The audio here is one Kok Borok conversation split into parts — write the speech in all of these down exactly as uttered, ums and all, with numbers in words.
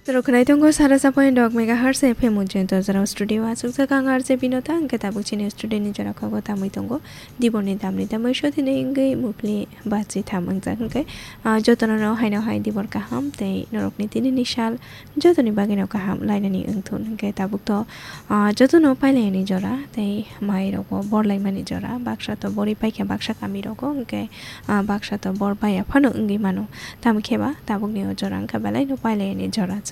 Rok khwnai tongo sara sapoin dok megahertz F M Ujjain Tozarao studio aswkjak ang R J Binota, hwnkhe tabuk chini studio ni jora khago tamwi tongo. Dibor ni damni tamwi sotini wngwi mupli bachi tham wngjak hwnkhe, ah, jotono no haino hai dibor kaham tei norokni tini ni sal jotoni bagwi no kaham lainani wngthun hwnkhe tabuk to, ah, jotono pailai ni jora tei mai rogo bor laimani jora baksa to bori paikha baksa kami rogo hwnkhe, ah, baksa to bor baiya phano wngwi mano. Tamo khe ba tabukni o jora wngkha belai no pailai ni jora chwng.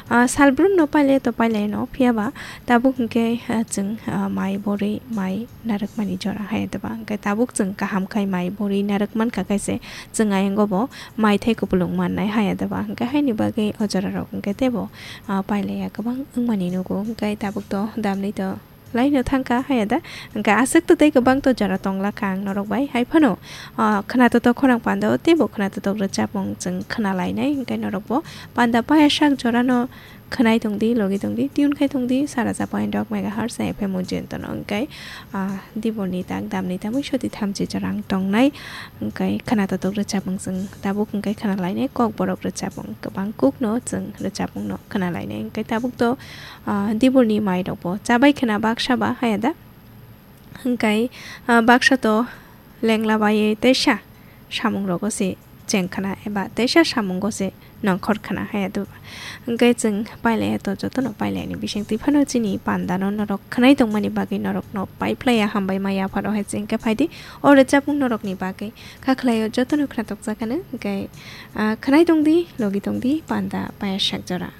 Ah, salbrum no pailai to pailai no, phiya ba tabuk hwnkhe, ah, chwng, ah, mai borwi mai narwkmani jora hai da ba. Hwnkhe tabuk chwng kaham khai mai borwi narwk mankha khai se chwng ayang o bo mai thai kupulung mannai hai da ba. Hwnkhe haini bagwi o jora rok hwnkhe teibo, ah, pailai ya kwbang wngmani nugo. Hwnkhe tabuk to damni to laino thangkha haya da. Hwnkhe aswk to tei kwbang to jora tongla kha ang norok bai. Hai phano, ah, khwnatok khorang panda o teibo khwnatok rwchapmung chwng khwna lainai. Hwnkhe norok bo panda paya sak jora no khwnai tongdi, logi tongdi, tune khai tongdi, sara cha point dok megahertz F M Ujjain tono. Hwnkhe, ah, dibor ni tak damni tamwi soti thamchi jora ang tongnai. Hwnkhe khwnatok rwchapmung chwng tabuk hwnkhe khwna lainai, kokborok rwchapmung kwbang kuk no chwng rwchapmung no khwna lainai. Hwnkhe tabuk to ah, diborni mairokbo chabai khwna baksa ba haya da. Hwnkhe, ah, baksa to lengla baiwi teisa samungrogo se cheng khwna eba teisa samungo se nongkhor khwna haya da. Hwnkhe chwng pailaiya to jotono pailaini bisingtwi phano chini pandano norok khwnai tongmani bagwi norokno paiphlaiya hambai ma yapharo hai chwng khe phaidi o rwchapmung norokni bagwi. Khakhwlaio jotono khwnatok jakano hwnkhe, ah, khwnai tongdi, logi tongdi, panda paya sak jora.